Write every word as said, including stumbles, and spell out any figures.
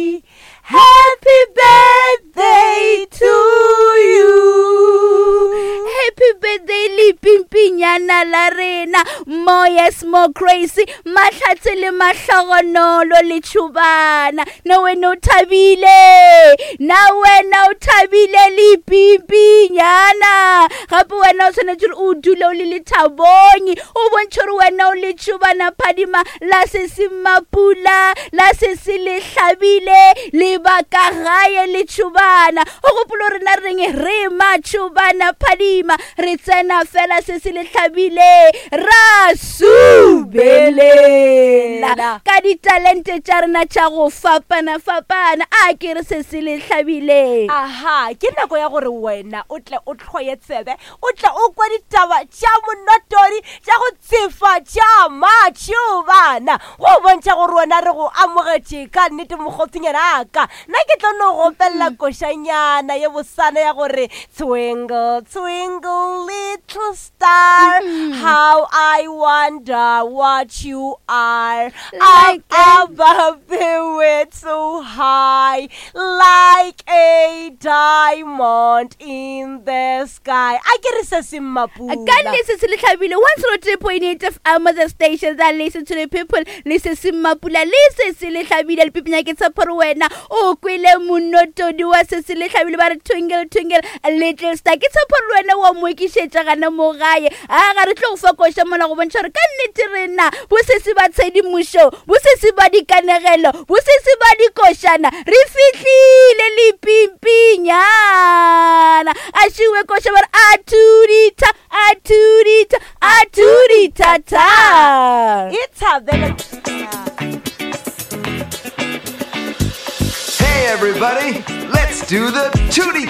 Happy birthday to you. Happy birthday lepimpinyana la rena. More yes, more crazy. Mahlatse le mahlogonolo le tšhubana. Na wena o thabile. Na wena o thabile lepimpinyana. Gape wena o tshwanetse gore o dule o le lethabong. O bontšhe gore wena o le tšhubana phadima la se se mapula, la se se le hlabile, le baka gae le tšhubana. O gopolo rena re reng re matšhubana phadima, re tsena fela se se le hlabile, ra subelela ka ditalente tša rena tša go fapana-fapana. A ke re se se le hlabile. Aha, ke nako ya gore wena o tle o tlhoye tsebe, o tle o kwe ditaba tša monotori tša go tsefa tša matšhubana, go bontšha gore wena re go amogetše ka nnete mokgotsinyana aka. Nna ke tlo no go opelela košanyana ye bosana ya gore twinkle twinkle little star, how I wonder what you are, Like up above the world so high, like a diamond in the sky. A ke re se se mmapula. Ka nnete se se le hlabile. One zero three point eight F M, the station that listen to the people. Le se se mmapula, le se se le hlabile. Le pipinya ke tshepa gore wena o kwele monotodi wa se se le hlabile, ba re twinkle twinkle little star. Ke tshepa gore wena wa mo ekišetša gana mo gae. A ga re tlo go fa koša mola go bontšha gore ka nnete rena bo se se ba tshedimošo, bo se se ba dikanegelo, bo se se ba dikošana, re fihlile le pimpinyana. A šiwe koša ba re a tudita, a tudita, a tudita ta. E thabele. Hey everybody, let's do the tootie